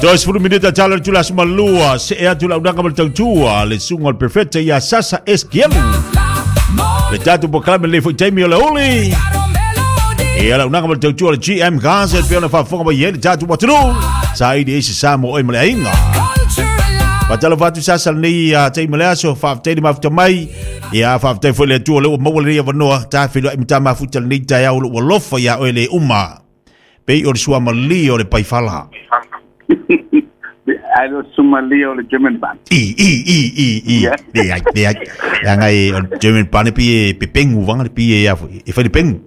20 minute tala le tula sumalua se e atu la unanga ma le tautua le suga o le perfecta ia Sasa Eskielu. Le tatou polokalame le foi taimi o le uli. Ia la unanga ma le tautua le GM Gaza e pei ona faafofoga mai ai le tatou atunuu. Saili ai se sa mo oe ma le aiga. Faatalofa atu Sasa lenei taimi o le aso, faafetai le mafuta mai. Ia faafetai foi le Atua o lea ua maua lenei avanoa, ta feiloai ma ta mafuta lenei taeao o lou alofa iā oe le uma. Pei o le suamalie o le paifala. Ai le sumalia o le German Bahn. I, i, i, i, i. Yeah. Leai, leai. Leaga e, o le German Bahn e pei e pepengu vanga le pei e a foi. E fai le pengu.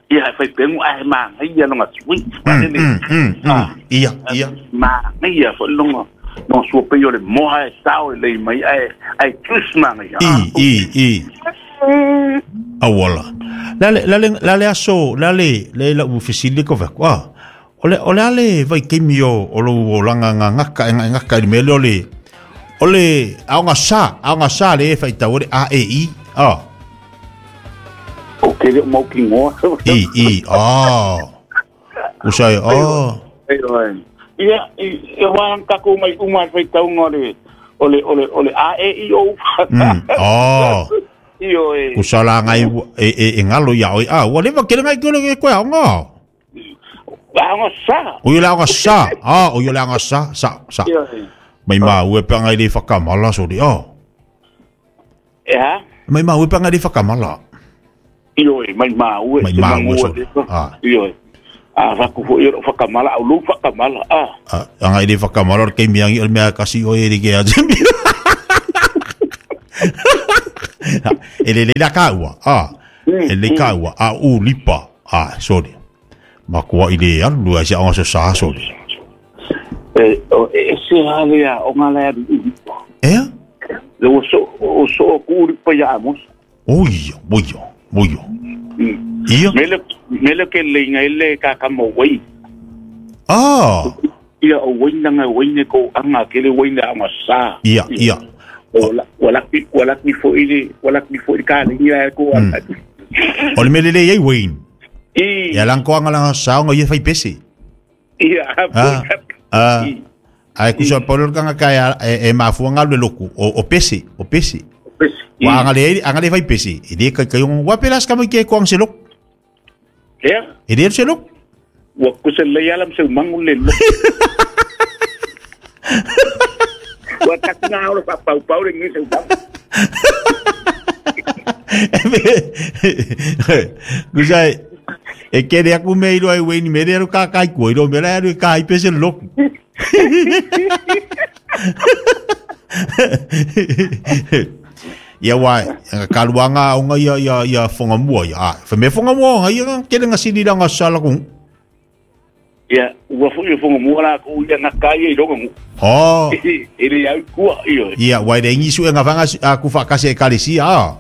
Ia, e fai pengu ae manaia lona sweet. Ia, ia. Manaia foi lona lona sua pei o le moa e sao lelei mai ae ae juice manaia. I, i, i. Auala. La le la le la le aso, la le le lau fesili ko vaku. Ah. O le o le ale vaitaimi o o lou olaga gagaka e gagaka i le mea lea o le o le aoga sa, aoga sa le e faitau ai le A E I. Ah. O ke le o mau kinoa. I i ah. Usa e ah. Ia, e wā takou mai uma e faitauga o le o le o le o le A E I O U. Ah. Io e. Kusa la ngai e e e ngalo ia oi. Ah, ua leva kele ngai kele ke koe aoga. Aoga sa. O ia le aoga sa. Ah, o ia le aoga sa, sa, sa. Mai ma ue pe ngai le whakamala sori. Oh. E ha? Mai ma ue pe ngai le whakamala. Ioe, mai ma ue. Mai ma ue sori. Ah. Ioe. A faku fo i whakamala, au lu whakamala. Ah. Ah, ngai le whakamala o le keimi angi o le mea kasi o e le ke a E le le la ka ua. Ah. E le ka ua. A u lipa. Ah, sorry. Makua i le alu ai se aoga so sa sole. E, o, e se hale a o ngā lai alu ulipa. Ea? Le o so, o so o ku ulipa ia amos. O ia, o ia, o ia. Ia? Mele, mele ke leinga ele ka kama wai. Ah! Ia o waina nga waine ko anga ke le waina anga sa. Ia, ia. O la o la ki o la ki fo ile o la ki fo ka le ia ko anga. O le mele le iai Wayne. I. Ia lang ko anga langa sa ngo ia fai pese. Ia. Ah. Ah. Ai kusa polo kanga kai e, e mafua ngalu le loku o, o pese, o pese. Wa anga le anga le fai pese. E le kai kai wa pelas ka mai ke ko ang se loku. Ea? E le se loku. Ua kusa le ala se mangu le loku. Ua taku ngā ora pa pau pau le ngi se mangu. Kusa e kere aku me iro ai weini me re ka kai ko iro me ra ru ka i pese loku. Ia wa ka luanga onga ia ia ia whangamua ia. Ah, fa me whangamua onga ia kere nga sini ranga sala ku. Ia, ua foi o whangamua la ko ia nga kai i ronga ngu. Oh. E le au kua io. Ia wa re ngi su nga whanga a ku whakase e kalesia. Ah.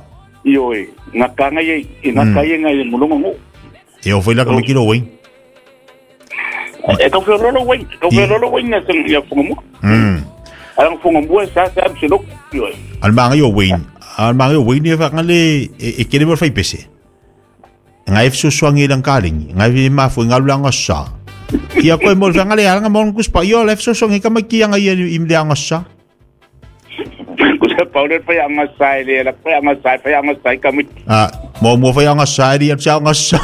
Io e nga kanga ia i nga kai nga i mulonga ngu. E o foi la ka me kilo wei. E kau whenolo wei, kau whenolo wei nga se ia whangamua. Ala whangamua sa sa am se loko io e. Al manga yo wei. Al manga yo wei ni fa le e kere mo fai pese. Nga e fesoasoani i lang kalengi, nga e mafua i nga sa. Ia koe mo le le anga mo kuspa io le fesoasoani ka mai ki anga ia i le anga sa. Ko se paule fai anga sa e le la fai anga sa fai anga sa ka mi. Ah, mo mo fai anga sa e le anga sa.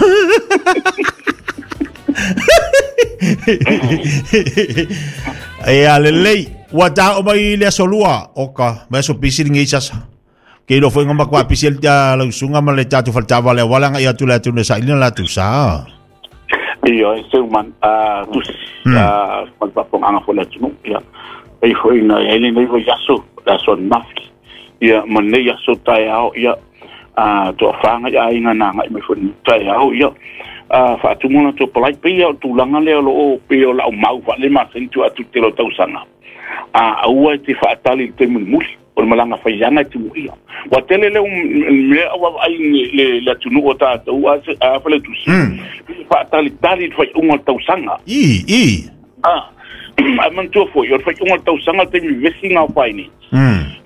E a lelei, ua ta o mai le aso lua, o ka, mai aso pisi ringi sasa. Ke ilo foi ngama kwa pisi el tia lausunga ma le tatu faltava le wala nga ia tu le atu ne sa ilina la tu sa. Ia, e seu man, tusi, mal papong anga fo le atunu, ia. E foi na e le nei foi aso, la aso nafi. Ia, ma nei aso tae ao, ia, toa whanga ia inga nā ngai mai foi tae ao, ia. Whaatumuna tō palai pia o tūlanga lea lo o pia o lau mau wha le masen tu atu te lo tausanga. Aua e te whaatali le te mulimuli, o le malanga whaianga e te muia. Wa tele leo mea awa ai le le atunu o tātou a a whale tusi. Whaatali tali le whai unga tausanga. I, i. A mantua foi, o le whai unga tausanga te mi vesi ngā whai nei.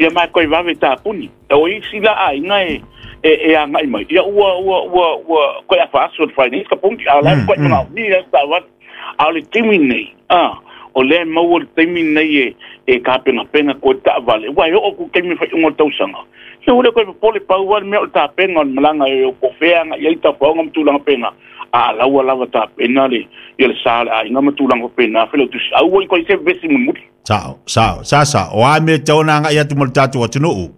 Ia mai koe wawe tāpuni. O isi la a inga e e a ngai mai. Ia ua ua ua ua koe a whaaso le whai nei, ka pungi, a lai koe mga ni la ta wat. A le timi nei. o lea e maua le taimi lenei e e tapenapenapenga koe taavale ua e oo ku taimi faaiuga o le tausaga ia ua le toe popole pau lava le mea o le tapena o le malaga e o po o fea agai ai tafaoga ma tulaga faapena a la ua lava tapena le ia le sa o le aiga ma tulaga faapena Failautusi aua i toe se vevesi mulimuli. Sao, sao, sasa, o a mea e tatau ona agai atu mo le tatou atunuu?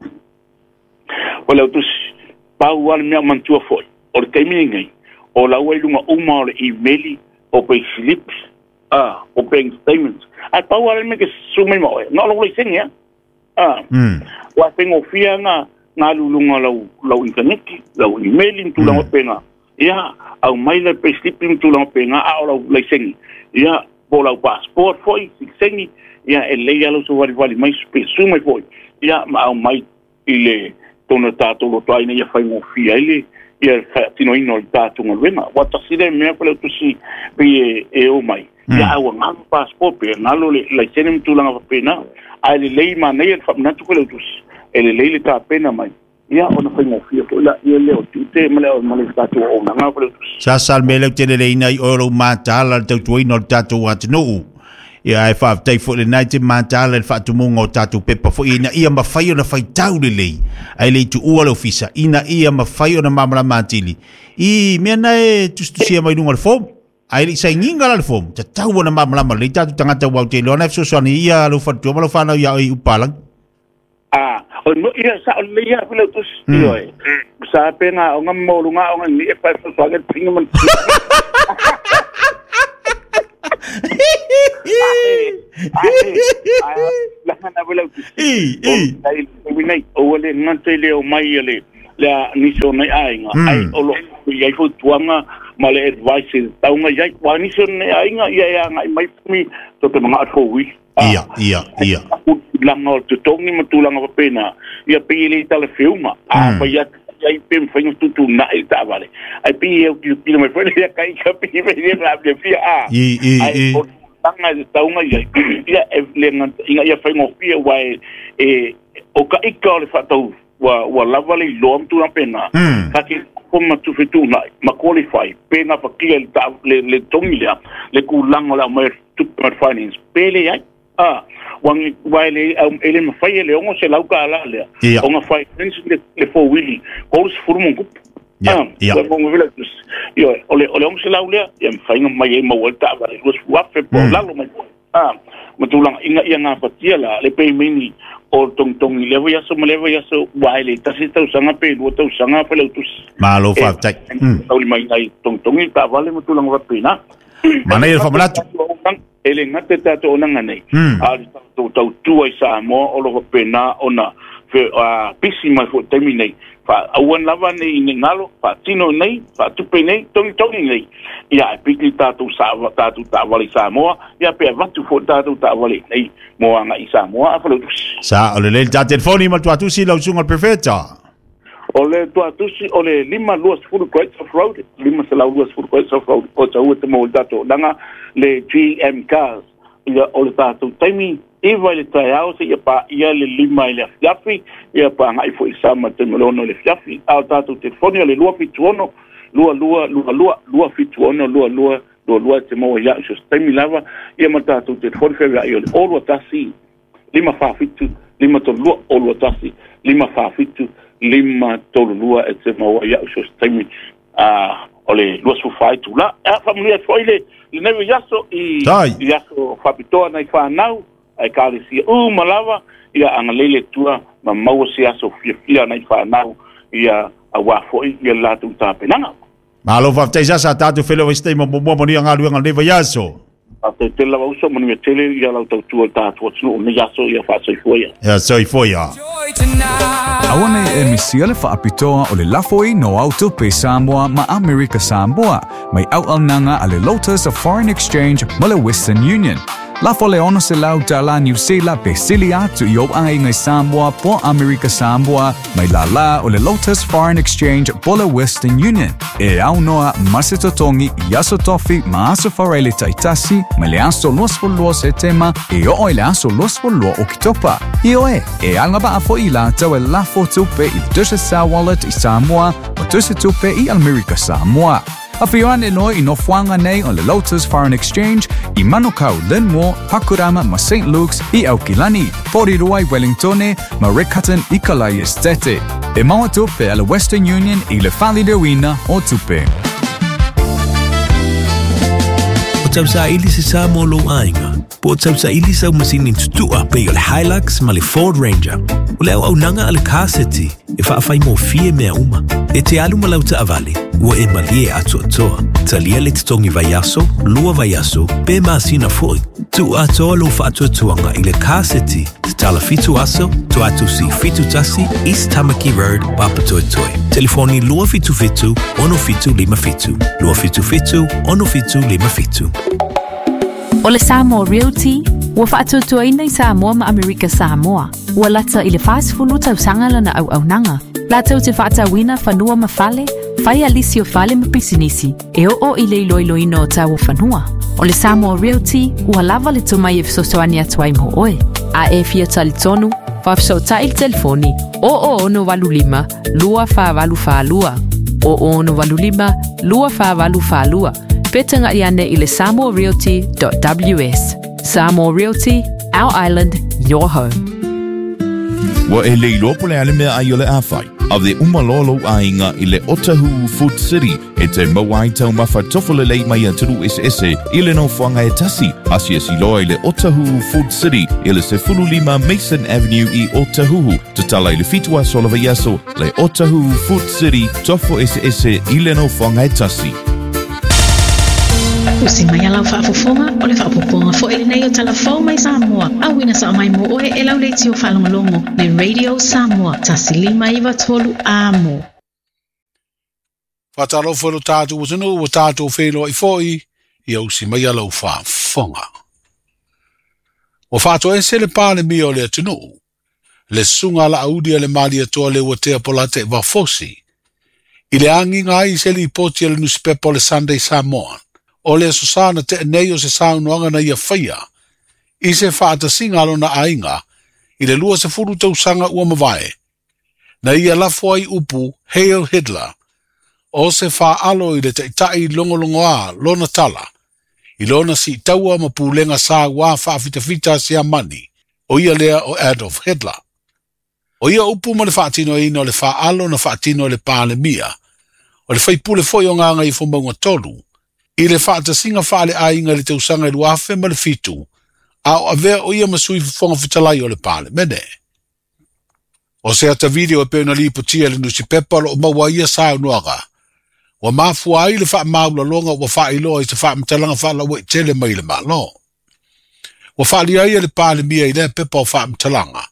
Failautusi, pau lava le mea o manatua foi, o le taimi lenei, o la ua i luga uma o le imeli, o payslips, a, o bank statements. Ae pau lava le mea e te susu mai ma oe, na o lou laisene lava. A, ua faigofie lava ona alu i luga o lau, lau initaneti, lau imeli ma tulaga faapena. Ia, aumai lau payslip ma tulaga faapena, a o lau laisene, ia, po o lau passport foi, sitiseni, ia, e lelei lava lou savalivali mai pe susu mai foi, ia, ma aumai i le tonu o le tatou lotoa ina ia faigofie ai le ia faatinoina o le tatou galuega. Ua tasi lea mea Failautusi pei e, e o mai, ia a ua galo passport pe galo le laisene ma tulaga faapena. Ae lelei manaia le faamanatu Failautusi, e lelei le tapena mai, ia ona faigofie foi laia lea o tiute ma le, ma le tatou auaunaga Failautusi. Sasa le mea lea ou te leleina ai oe o lou mataala i le tautuaina o le tatou atunuu. Ia ae faafetai foi lena e te mataala i le faatumuga o tatou pepa foi ina ia mafai ona faitau lelei ae le i tuua le ofisa ina ia mafai ona malamalama atili i mea na e tusitusia mai luga o le form. Ae le i sainiga la le form, tatau ona malamalama lelei tatou tagata aua ou te iloa na e fesoasoani ai ia lou faletua ma lau fanau ia oe i Upalagi. A, o le mea, ia, sao lelei lava Failautusi, ioe. Sa pe na aoga ma maualuga aoga nei e fai fesoasoani le pinga ma le I, i. Ua le gata i le omai a le le a nisi o nai aiga, ai o lo o i ai fautuaga ma le advice e tatau ona i ai. Aua o nisi o nai aiga, ia e agai mai fumi to te manao i le four wheel. Ia, ia, ia. Tulaga o le totogi ma tulaga faapena, ia pei e le talafeuga. A fai atu ai pe mafai ona fetuutuunai le taavale, ae pei e autilotilo mai foi le kai ka pei e le faapea a. I, i, i. Ae o tulaga e tatau ona i ai, ia e le gata ina ia faigofie aua e, e, o ka ika o le faatau ua, ua lava le iloa ma tulaga faapena, ka te nofo ma fetuunai ma qualify pe gafatia le, ta, le, le togi lea, le tulaga o le aumai o le tupe mai le finance, pe leai. A, ua, ua e le, e le mafai e le $600 lea, ona finance le, le four wheel, 30 ma ona tupu. Ia, ia. Ioe, o le, o le $600 lea, ia mafai ona mai ai maua ai le taavale $20,000 po o lalo mai foi. A, ma tulaga ina ia gafatia la le pemeni o le togitogi i lea vaiaso ma lea vaiaso, aua e le tasi tausaga pe lua tausaga Failautusi. Malo faafetai. E taulimaina ai togitogi taavale ma tulaga faapena. Manaia le faamanatu. E le gata i tatou auaunaga nei, a o le tatou tautua i Samoa o lo o faapena ona pisi mai foi i le taimi nei. Aua lava ne i galo, faatino nei, faatupe nei, togitogi nei. Ia, ae piki tatou tatou taavale i Samoa, ia pe avatu foi tatou taavale nei mo agai i Samoa a Failautusi. Sa, o lelei le ta telefoni ma le tuatusi lau susuga i le Perfeta. O le tuatusi o le 520 Great South Road, 520 Great South Road, o taua te maua i tatou auaunaga le GM Cars. Ia, o le tatou taimi, 9 i le taeao seia paia le 5 i le afiafi, ia pa agai foi i sama i le taimi o le 6 i le afiafi. A o le tatou telefoni o le 276 22 22 276 22 22 e te maua ia au i so o se taimi lava, ia ma le tatou telefoni feaveai o le 021 547 532 021 547 532 e te maua ia au i so o se taimi a o le 24 itula. A faamanuia atu foi le lenei vaiaso i i aso faapitoa nai fanau a ekalesia uma lava, ia agalelei le Atua ma maua se aso fiafia nai fanau ia aua foi ia le latou tapenaga. Malo faafetai Sasa, tatou feiloai se taimi muamua manuia galuega o lenei vaiaso. Faafetai tele lava uso, manuia tele ia lau tautua i le tatou atunuu i lenei aso, ia faasoifua ia. Ia soifua ia. Aua nei e misia le faapitoa o le lafo i no au tupe Samoa ma Amerika Samoa mai auaunaga a le Lotus of Foreign Exchange ma le Western Union. Lafo le 600 tala Niu Sila pe sili atu i ou aiga i Samoa po Amerika Samoa mai lālā o le Lotus Foreign Exchange po le Western Union e aunoa ma se totogi i aso tofi ma aso faraile taitasi mai le aso 22 Setema e oo i le aso 22 Oketopa. Ioe, e agavaa foi i latou e lafo tupe i le Digicel Wallet i Samoa ma tusi tupe i Amerika Samoa. Afio ane loa i nofoaga nei o le Lotus Foreign Exchange i Manukau, Linmore, Pakurama ma St Luke's i Aukilani, Porirua i Wellingtone ma Riccarton i Kalai Estate. E maua tupe a le Western Union i le faaliliuina o tupe. O tausaili se sa mo lou aiga, po o tausaili sau masini tutua pei o le Hilux ma le Ford Ranger. O le auaunaga a le Car City e faafaigofie mea uma. E te alu ma lau taavale, ua e malie atoatoa. Talia le totogi vaiaso, 2 vaiaso, pe masina foi. Tuu atoa lou faatuatuaga i le Car City, tatala 7 aso, Tuatusi 71, East Tamaki Road, Papatoetoe. Telefoni 277 6757, 277 6757. O le Samoa Realty, ua faatuatuaina i Samoa ma Amerika Samoa. Ua lata i le 40 tausaga lana auaunaga. Latou te faatauina fanua ma fale, fai a lisi o fale ma pisinisi, e oo i le iloiloina o tau o fanua. O le Samoa Realty, ua lava le tomai e fesoasoani atu ai mo oe. A e fia talitonu, faafesootai le telefoni 0085 2482 0085 2482 pe tagai ane i le samoarealty.ws. Samoa Realty, our island, your home. Ua e le iloa po o le a le mea ai o le a fai. Ave uma loa lou aiga i le Otahuhu Food City e te maua ai taumafa tofo lelei mai atunuu eseese i le nofoaga e tasi. Asiasi loa i le Otahuhu Food City i le 15 Mason Avenue i Otahuhu. Tatala i le 7 aso o le vaiaso, le Otahuhu Food City, tofo eseese i le nofoaga e tasi. Usi mai a lau faafofoga, o le faaopoopoga foi lenei o tala fou mai Samoa, auina sao mai mo oe e lau leitio faalogologo le Radio Samoa 1593 Amo. Faatalofa i lo tatou atunuu ua tatou feiloai foi ia usi mai a lau faafofoga. Ua faatoese le Palemia o le atunuu, le susuga a Laauli a le Malietoa Leuatea Polataivao Fosi, i le agiga ai i se lipoti a le nusipepa o le Sunday Samoan, o le Aso Sa na tea nei o se saunoaga na ia faia i se faatasiga a lona aiga i le 20 tausaga ua mavae, na ia lafo ai upu Heil Hitler, o se faaalo i le taitai logologoā lona tala, i lona siitaua ma pulega sauā faafitafita a Siamani, o ia lea o Adolf Hitler. O ia upu ma le faatinoina o le faaalo na faatino e le Palemia, o le faipule foi o Gagaifomauga 3, i le faatasiga faaleaiga i le tausaga i 2007, a o avea o ia ma sui fofoga fetalai o le Palemene. O se ata video e pei ona lipotia i le nusipepa o lo o maua ai ia saunoaga, ua mafua ai le faamaualaloga ua faailoa i se faamatalaga faalauaitele mai le Malo. Ua faalia ai e le Palemia i lea pepa o faamatalaga,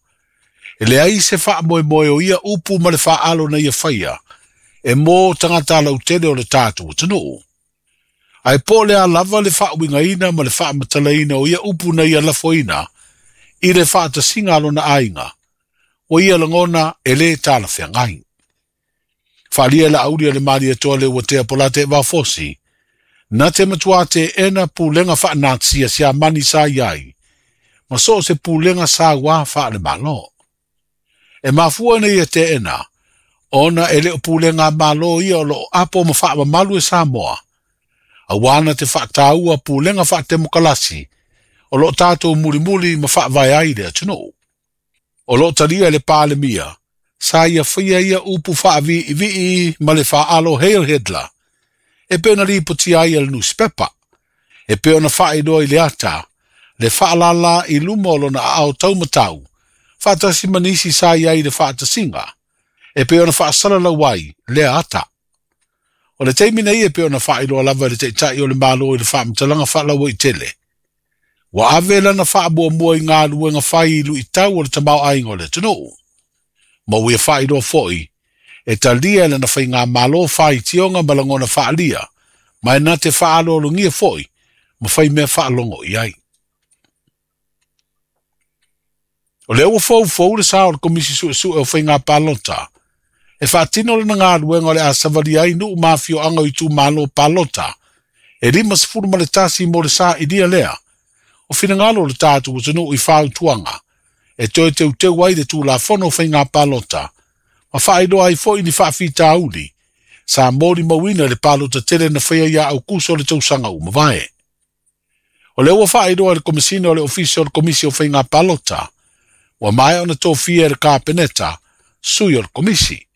e leai se faamoemoe o ia upu ma le faaalo na ia faia e mo tagata lautele o le tatou atunuu. Ae po o le a lava le faauigaina ma le faamatalaina o ia upu na ia lafoina i le faatasiga a lona aiga, ua ia lagona e lē talafeagai. Faaalia e Laauli a le Malietoa Leuatea Polataivao Fosi, na te matuā teena pulega faanatia Siamani sa i ai, ma so o se pulega sauā faale-Malo. E mafua ina ia teena, ona e le o pulega a Malo ia o lo o apo ma faamamalu e Samoa, auā na te faataua pulega faatemokalasi o lo o tatou mulimuli ma faavae ai le atunuu. O lo o talia e le Palemia, sa ia faia ia upu faaviivii ma le faaalo Heil Hitler, e pei ona lipotia ai e le nusipepa, e pei ona faailoa i le ata, le faalala i luma o lona aao taumatau, faatasi ma nisi sa i ai i le faatasiga, e pei ona faasalalau ai lea ata. O le taimi nei e pei ona faailoa lava e le Taitai o le Malo i le faamatalaga faalauaitele, ua ave lana faamuamua i galuega fai i luitau o le tamaoaiga o le atunuu. Ma ua ia faailoa foi, e talia e lana faigamalo faitioga ma lagona faaalia, ma e na te faaaloalogia foi ma fai mea faalogo i ai. O lea ua foufou le sa o le Komisi Suesue o Faiga Palota e faatino lana galuega o le a savalia ai nuu ma afioaga o itumalo palota e 51 mo le sailia lea o finagalo o le tatou atunuu i fautuaga e toe teuteu ai le Tulafono o Faiga Palota ma faailoa ai foi ni faafitauli Sa molimauina i le palota tele na faia ia Aukuso o le tausaga ua mavae. O lea ua faailoa e le Komesina o le Ofisa o le Komisi o Faiga Palota, ua maea ona tofia e le Kapeneta sui o le Komisi.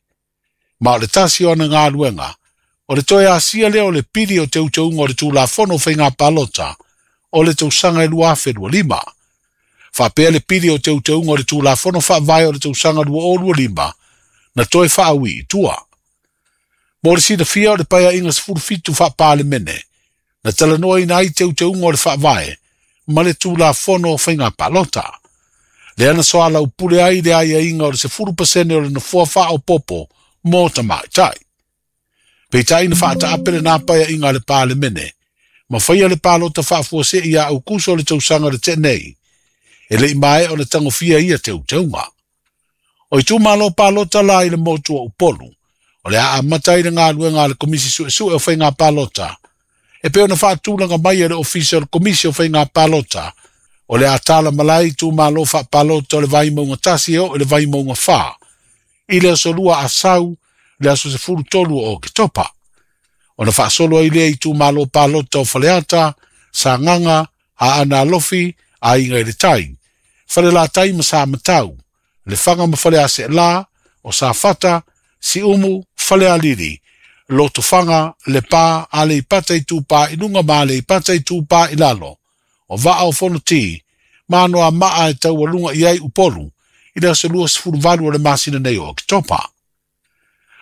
Ma o le tasi o ana galuega, o le toe asia lea o le pili o teuteuga o le Tulafono o Faiga Palota o le tausaga e 2025. Faapea le pili o teuteuga o le Tulafono Faavae o le tausaga 2025 na toe faaui i tua. Mo le silafia o le Paeaiga 17 faa-Palemene, na talanoaina ai teuteuga o le Faavae ma le Tulafono o Faiga Palota. Lea na soalaupule ai le aiaiga o le 10% o le nofoa faaopoopo mo tamaitai. Peitai na faataape lena paeaiga a le Palemene, ma faia le palota faafuasei ia Aukuso o le tausaga le tea nei, e le i maea ona tagofia ia teuteuga. O itumalo palota la i le motu o Upolu, o le a amata ai le galuega a le Komisi Suesue o Faiga Palota, e pei ona faatulaga mai e le Ofisa o le Komisi o Faiga Palota, o le a tala malae itumalo faapalota o le Vaimauga 1 e oo i le Vaimauga 4, i le aso 2 Asau, le aso 13 o Oketopa. Ona faasolo ai lea i itumalo palota o Faleata, Sagaga, Aana Alofi, Aiga i le Tai, Falelatai ma Samatau, Lefaga ma Faleaseela, o Safata, Siumu, Falealili, Lotofaga, Lepa, Aleipata Itupa i luga ma Aleipata Itupa i lalo, o Vaa o Fonoti, ma Anoamaa e taualuga i ai Upolu, i le aso 28 o le masina nei o Oketopa.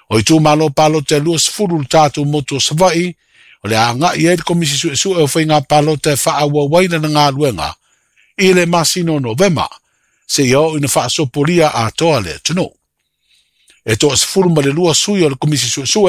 O itumalo palota e 20 le tatou motu o Savaii, o le a agai ai le Komisi Suesue o Faiga Palota e faaauau ai lana galuega i le masina o Novema, seia oo ina faasopolia atoa le atunuu. E toa 12 sui o le Komisi Suesue